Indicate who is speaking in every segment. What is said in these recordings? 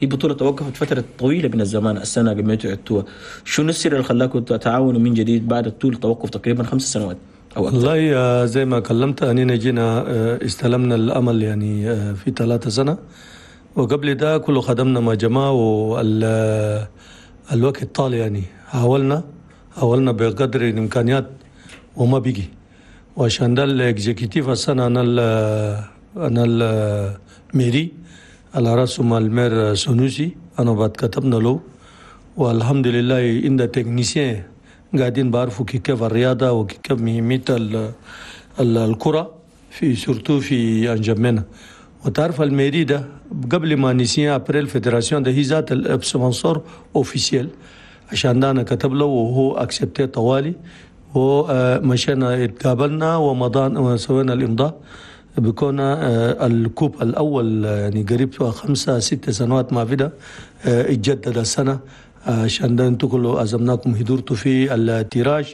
Speaker 1: هي بطولة توقفت فترة طويلة من الزمان، السنة قبل ما عدتوها. شنو السر اللي خلاكم تتعاونوا من جديد بعد طول توقف تقريبا 5 سنوات أو أكثر؟
Speaker 2: والله زي ما كلمت، أننا جينا استلمنا الأمل يعني في 3 سنة، وقبل ده كله خدمنا مع جماعة، والوقت طال. يعني حاولنا بقدر الإمكانيات وما بيجي، وعشان ده ال exécutif السنة أنا ال mairie على راسهم ال maire سنوسي، أنا بعد كتبنا له، والحمد لله عند techniciens قاعدين بعرفوا كيف الرياضة وكيف مهمية الكرة في surtout في انجمينا. وتعرف ال mairie ده قبل ما نسيان après ال fédération ده هي ذات ال sponsor officiel. عشان ده انا كتب له وهو accepté طوالي، ومشينا اتقابلنا ومضان وسوينا الامضاء بكون ال coupe الاول، يعني قريب 5 6 سنوات ما في ده اتجدد السنه. عشان ده انتوا كله عزمناكم، حضرتوا في ال tirage،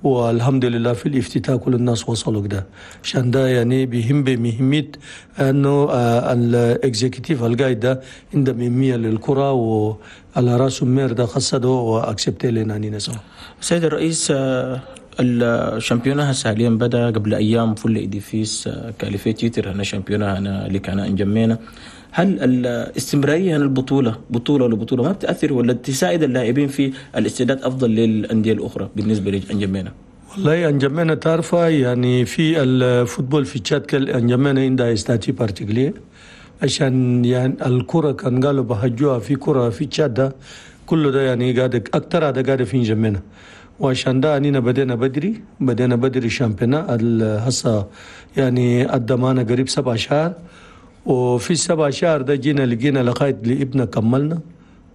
Speaker 2: والحمد لله في الافتتاح كل الناس وصلوا كده. عشان ده يعني بيهم بمهمية انه ال exécutif القايد ده عنده مهمية للكرة، وعلى راسه maire ده خصده و accepté لنا نينا سوا.
Speaker 1: سيد الرئيس، ال championnat هسه حاليا بدا قبل ايام، فولا Édifice qualifié titre هنا championnat هنا اللي كان انجمينا. هل الاستمرارية هنا البطولة بطوله لبطولة ما بتاثر ولا تساعد اللاعبين في الاستعداد افضل للاندية الاخرى بالنسبة لانجمينا؟
Speaker 2: والله انجمينا تعرفها يعني في ال football في تشاد كل انجمينا عندها statut particulier، عشان يعني الكرة كان قالوا بهجوها في كرة في تشاد ده كله ده يعني قاعد اكثر هذا قاعد في انجمينا. وعشان ده أنينا بدينا بدري، بدينا بدري championnat هسه، يعني أدى معنا قريب 7 شهر، وفي ال7 شهر ده جينا لقينا لغاية لابنا كملنا،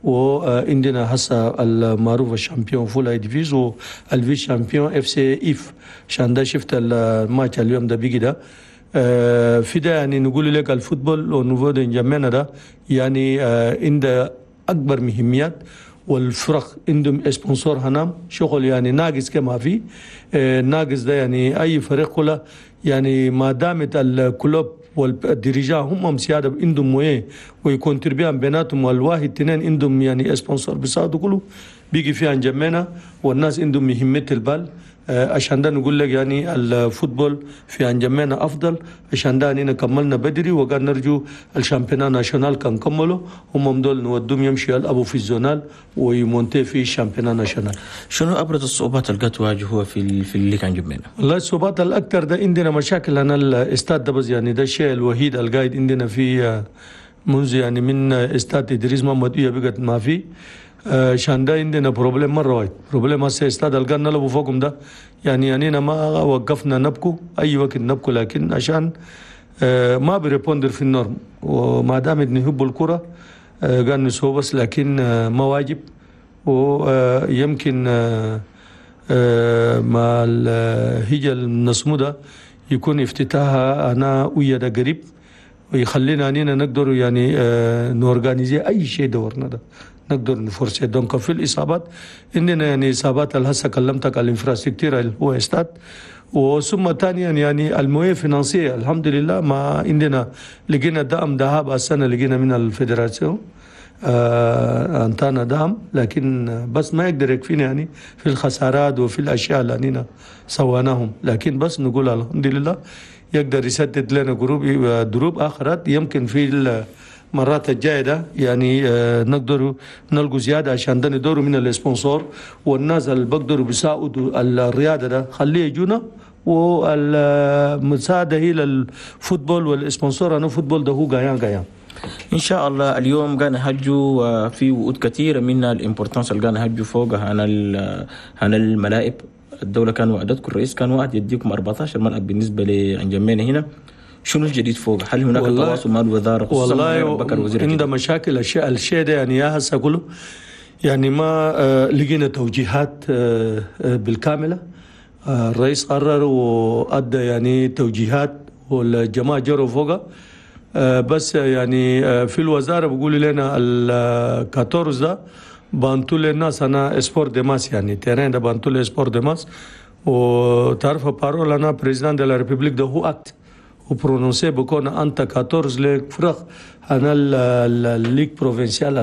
Speaker 2: وعندنا هسه المعروف ال champion فولا Édifice وال vice-champion FC ايف. عشان ده شفت الماتش اليوم ده بيجي ده في ده يعني نقول لك ال football au niveau de انجمينا ده يعني عنده اكبر مهميات، والفرق عندهم sponsor هنام شغل يعني ناقص كما في ناقص ده. يعني اي فريق كله يعني ما دامت ال club وال dirigeants هم سيادة عندهم moyens وي contribuer بيناتهم، والواحد اثنين عندهم يعني sponsor بيساعدوا، كله بيجي فيها انجمينا والناس عندهم مهمة البال. عشان ده نقول لك يعني ال football في انجمينا افضل. عشان ده اننا كملنا بدري، وقال نرجو ال championnat national كان كملوا هم دول نودهم يمشي يلعبوا في ال zonal وي monter في ال championnat national.
Speaker 1: شنو ابرز الصعوبات اللي قد تواجهوها في اللي كان جمينا؟
Speaker 2: والله الصعوبات الاكثر ده عندنا مشاكل انا الاستاد ده بس، يعني ده الشيء الوحيد القايد عندنا في منذ يعني من استاد ادريس محمد بقت ما في. عشان ده عندنا problème مرة واحد problème. هسه استاد القان نلعبوا فوقهم ده يعني أننا ما وقفنا نبكو، أي وقت نبكو، لكن عشان ما ب répondre في ال normes، وما دام نحب الكرة قال نسوي بس، لكن ما واجب. ويمكن مع الهجة النسمو ده يكون افتتاحها أنا ويا ده قريب، ويخلينا أننا نقدر يعني ن organiser أي شيء دورنا ده نقدر ن forcer. donc في الإصابات عندنا يعني إصابات هسه كلمتك على ال infrastructure اللي هو استاد، وثم ثانيا يعني ال moyens financiers. الحمد لله ما عندنا لقينا دعم ذهب السنة، لقينا من ال fédération انطانا دعم، لكن بس ما يقدر يكفينا يعني في الخسارات وفي الاشياء اللي أننا سويناهم، لكن بس نقول الحمد لله يقدر يسدد لنا جروب دروب اخرات. يمكن في المرات الجاية ده يعني نقدر نلقوا زياده، عشان ده ندوروا من ال sponsor والناس اللي بقدروا بيساعدوا الرياضة ده خليه يجونا، والمساعدة هي لل football وال sponsor انا football ده هو gagnant gagnant.
Speaker 1: ان شاء الله اليوم قاعد نهجوا في وعود كثيرة منها ال importance اللي قاعد نهجوا فوقها هنا الملاعب. الدولة كان وعدتكم، الرئيس كان وعد يديكم 14 ملعب بالنسبة لانجمينا هنا. شنو الجديد فوق؟ هل هناك تواصل مع الوزارة؟
Speaker 2: خصوصا والله بكر وزير عنده مشاكل الشيء ده يعني يا هسه كله يعني ما لقينا توجيهات بالكامله. الرئيس قرر وادى يعني توجيهات والجماعة جروا فوقها، بس يعني في الوزارة بيقولوا لنا ال 14 ده بانتو للناس انا sport de masse، يعني terrain ده بانتو ل sport de masse. وتعرف parole انا président de la République ده هو acte و prononcé بكون انت 14 لفرق انا ال ligue provinciale.